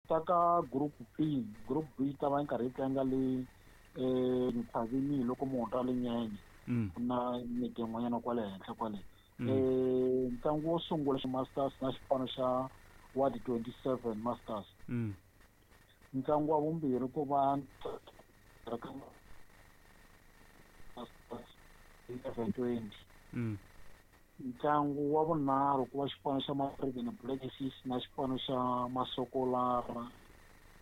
Ta ka group B, group B yi ta va yi karhi yi tlanga le Ntshaveni loko mu hundza le Nyenye. Ku na miti yin'wanyana kwale henhla kwale. Ntlangu wo sungula Masters na xipano xa Ward 27 Masters. Ntlangu wa vumbirhi ku va Masters 11:20. Ntlangu wa vunharhu ku va xipano xa Mariveni Black Aces na xipano xa Masokolara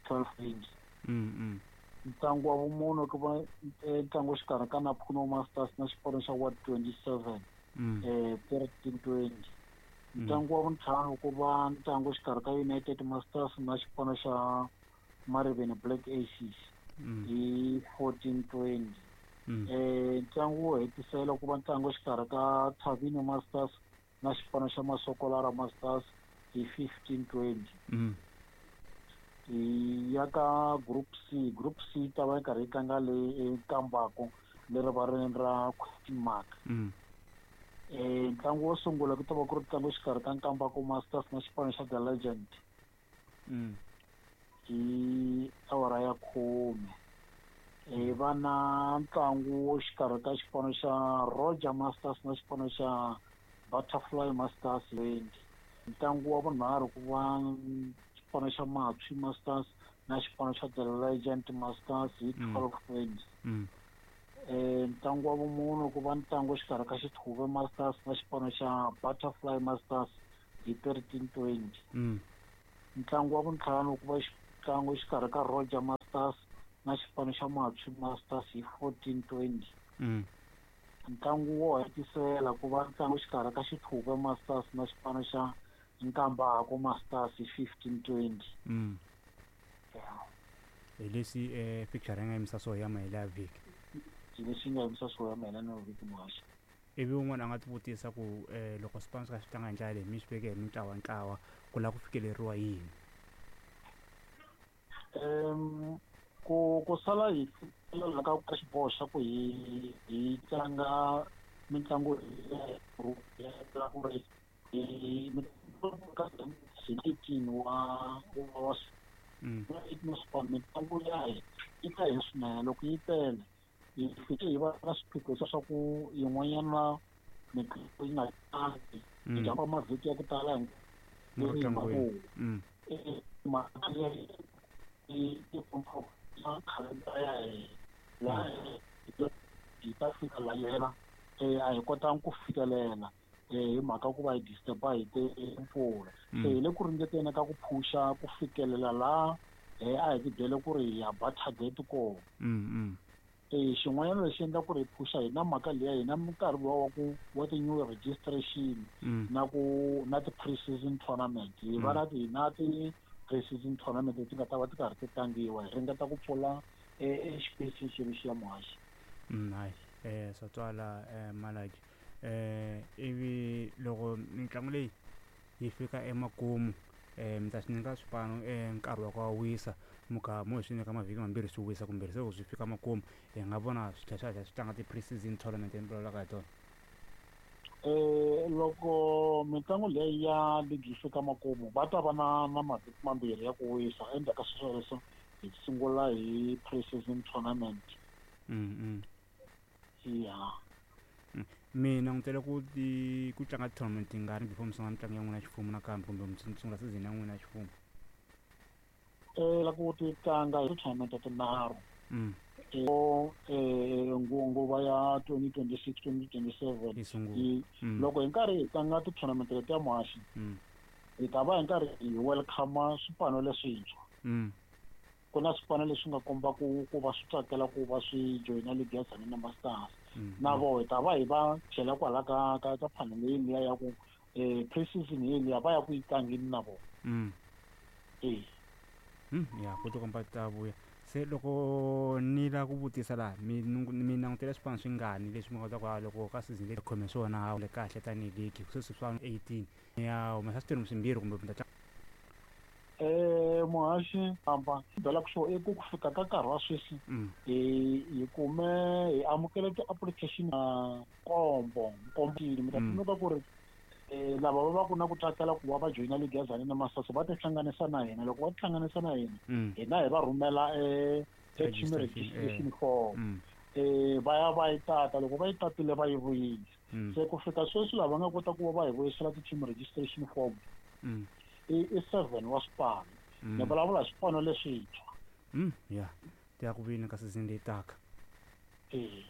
12:20. Ntlangu wa vumune ku va ntlangu xikarhi ka Naphuno Masters na xipano xa Ward 27 13:20. Ntlangu wa vuntlhanu ku va ntlangu xikarhi ka United Masters na xipano xa Mariveni Black Aces hi 14:20. Ntlangu wo hetisela ku va ntlangu xikarhi ka Tshavini Masters na xipano xa Masokolara Masters hi 15:20. Hi ya ka Group C. Group C yi ta va yi karhi yi tlanga le eNkambako le rivaleni ra Question Mark. Ntlangu wo sungula ku ta va ku ri ntlangu xikarhi ka Nkambako Masters na xipano xa The Legend. Hi awara ya 10. Va na ntlangu xikarhi ka xipano xa Roger Masters na xipano xa Butterfly Masters 20. Ntlangu wa vunharhu ku va xipano xa Matshwi Masters na xipano xa The Legend Masters hi 12:20. Ntlangu wa vumune ku va ntlangu xikarhi ka Xithuve Masters na xipano xa Butterfly Masters hi 13:20. Ntlangu wa vuntlhanu ku va ntlangu xikarhi ka Roger Masters na xipano xa Matshwi Masters hi 14:20. Ntlangu wo hetisela ku va ntlangu xikarhi ka Xithuve Masters na xipano xa Nkambako Masters hi 15:20. Hi leswi picture yi nga yimisa swo ya mahela ya vhiki. Hi leswi nga yimisa swo ya mahela ya vhiki muhaxi. Ivi un'wana a nga tivutisa ku loko swipano swi kha swi tlanga hi ndlela leyi mi swi veke hi mintlawa ntlawa ku lava ku fikeleriwa yini? Ku sala hi fikelela ka xiboho xa ku hi tlanga mitlangu ya ku ri hi ka 18 wa wa mitlangu ya hina yi tele swinene. Loko yi tele hi fike hi va na swiphiqo swa ku yin'wanyana mitlangu yi nga tlangi hi jumpa mavhiki ya ku tala mhaka leyi yi khalendara ya hina laha hi ta fika la yena a hi kotanga ku fikelela hi mhaka ku va hi disturb-a hi timpfula. Se hi le ku ringeteni ka ku phusha ku fikelela laha a hi tibyele ku ri hi ya ba target kona. Xin'wanyana lexi endla ku ri hi phusha hi na mhaka liya hi na nkarhi wa ku wa ti-new registration na ku na ti-pre-season tournament. Hi va na ti na ti-pre-season tournament leti nga ta va ti karhi ti tlangiwa, hi ringeta ku pfula xipesi xexi ya muhaxi. Hayi swa twala Malaki. Ivi loko mitlangu leyi yi fika emakumu mi ta swi nyika swipano nkarhi wa ku wa wisa muka mo hi swi nyika mavhiki mambirhi swi wisa kumbe se loko swi fika makumu hi nga vona swi tlhela swi tlanga ti-pre-season tournament mi vulavulaka hi tona. Loko mitlangu leyi ya ligi yi fika makumu va ta va na mavhiki mambirhi ya ku wisa. Endzhaku ka sweswo leswo hi sungula hi pre-season tournament. Ya. Mi langutele ku ti ku tlanga tournament tingani before mi sungula mitlangu ya n'wina ya ximfumo nakambe kumbe mi sungula season ya n'wina ya ximfumo? La ku ti tlanga hi tournament tinharhu. Nguva ya 2026 2027 yi sungula. Loko hi nkarhi hi tlanga ti-tournament leti ya muhaxi hi ta va hi nkarhi hi welcome swipano leswintshwa. Ku na swipano leswi nga komba ku va swi tsakela ku va swi joyina ligi ya Tzaneen Masters. Na voho hi ta va hi va chela kwala ka panel liya ya ku pre-season liya va ya ku yi tlangeni na vona. Ya ku tikomba ta vuya. Se loko ni lava ku vutisa laha mi langutele swipano swingani leswi mi nga kota ku loko ka season leyi khome swona ha le kahle tanihi ligi sweswi swa 18 ya humesa switirho swimbirhi kumbe mi ta tlanga. Muhaxi amba byela ku swo i ku fika ka nkarhi wa sweswi hi kume hi amukele ti-application nkombo mi ta tsundzuka ku ri Lava va va ku na ku tsakela ku va va joyina league ya Tzaneen Masters va tihlanganisa na hina. Loko va tihlanganisa na hina, hina hi va rhumela team registration form, va ya va yi tata. Loko va yi tatile, va yi vuyisa. Se ku fika sweswi, lava nga kota ku va va hi vuyisela ti-team registration form i 7 wa swipano. Ni vulavula hi swipano leswintshwa. Ya, ti ya ku vini ka season leyi taka. E.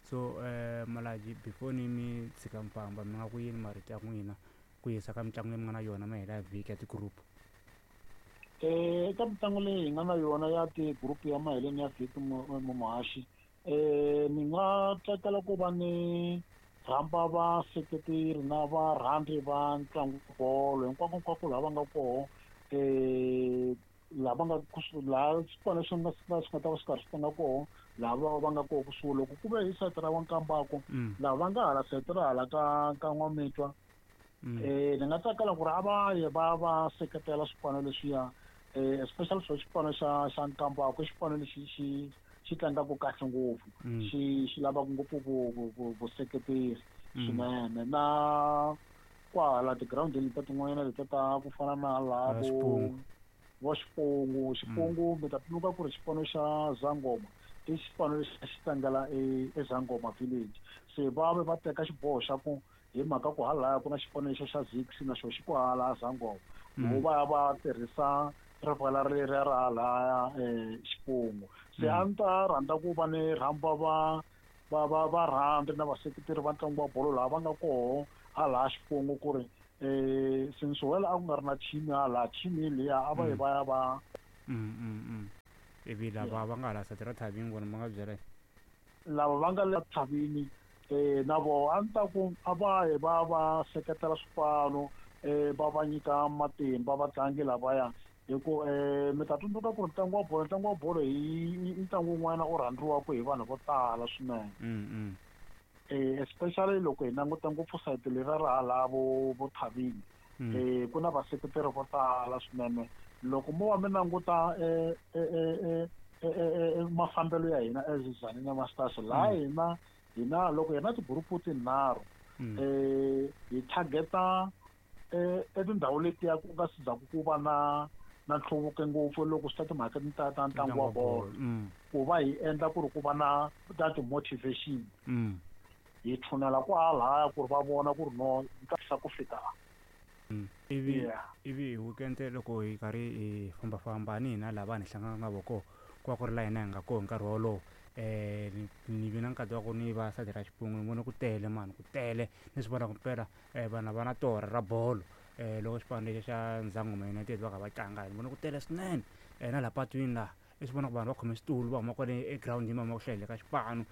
So Malaji, before ni mi tshika mi famba, mi nga ku yini marito ya n'wina ku yisa ka mitlangu leyi mi nga na yona mahela ya vhiki ya ti-group? Eka mitlangu leyi hi nga na yona ya ti-group ya maheleni ya vhiki, muhaxi, ni nga tsakela ku va ni rhamba vaseketeri na varhandzi va ntlangu bolo hinkwako hinkwako laha va nga koho, laha va nga laha swipano swi nga ta va swi karhi swi tlanga koho, laha va nga koho kusuhi. Loko ku ve hi sayiti ra Nkambako, laha va nga hala sayiti ra hala ka N'wamitwa, ni nga tsakela ku ri a va ye va va seketela swipano leswiya, especially swo xipano xa Nkambako. I xipano lexi xi tlangaka kahle ngopfu, xi lavaka ngopfu vuseketeri swinene. Na kwahala tigirawundini ta tin'wanyana letiya ta ku fana na laha vo vo Xipungu, Xipungu, mi ta tsundzuka ku ri xipano xa Zangoma i xipano lexi a xi tlangela eZangoma village. Se va ve va teka xiboho xa ku hi mhaka ku halaya ku na xipano lexi xa Zix, na xo xi kwahala Zangoma, vo va ya va tirhisa rivala leriya ra halaya Xipungu. Se a ni ta rhandza ku va ni rhamba va varhandzi na vaseketeri va ntlangu wa bolo laha va nga koho halaya Xipungu, ku ri since well a ku nga ri na team hala, team liya a va yi va ya va Ivi lava va nga hala sayiti ra Thavini vona va nga byela? Lava va nga le Thavini, na voho a ni ta ku a va yi va va seketela swipano, va va nyika matimba vatlangi lavaya, hi ku mi ta tsundzuka ku ri ntlangu wa bolo hi i ntlangu wun'wana u rhandziwaka hi vanhu vo tala swinene, especially loko hi languta ngopfu sayiti leriya ra hala vo Thavini, ku na vaseketeri vo tala swinene. Loko mo va mi languta mafambelo ya hina as Tzaneen Masters, laha hina loko hi na ti-group tinharhu, hi targeta etindhawu letiya ku nga si zaku ku va na nhluvuko ngopfu loko swi ta timhaka ta ntlangu wa bolo, ku va hi endla ku ri ku va na ti-motivation, hi tshunela kwalaya ku ri va vona ku ri no xa ku fika. Ivi ivi hi weekend, loko hi karhi hi fambafamba ni hina laha vanhu hi hlanganaka na vona koho, ku va ku ri laha hina hi nga koho hi nkarhi wolowo, ni vi na nkarhi wa ku ni va sayiti ra Xipungu, ni vone ku tele mani, ku tele. Ni swi vona ku mpela vanhu va na torha ra bolo. Loko xipano lexi xa Ndzangoma United va kha va tlanga, ni vone ku tele swinene. Na laha patwini laha i swi vona ku vanhu va khome switulu, va huma kwale egirawundini, va huma ku hlayeni ka xipano.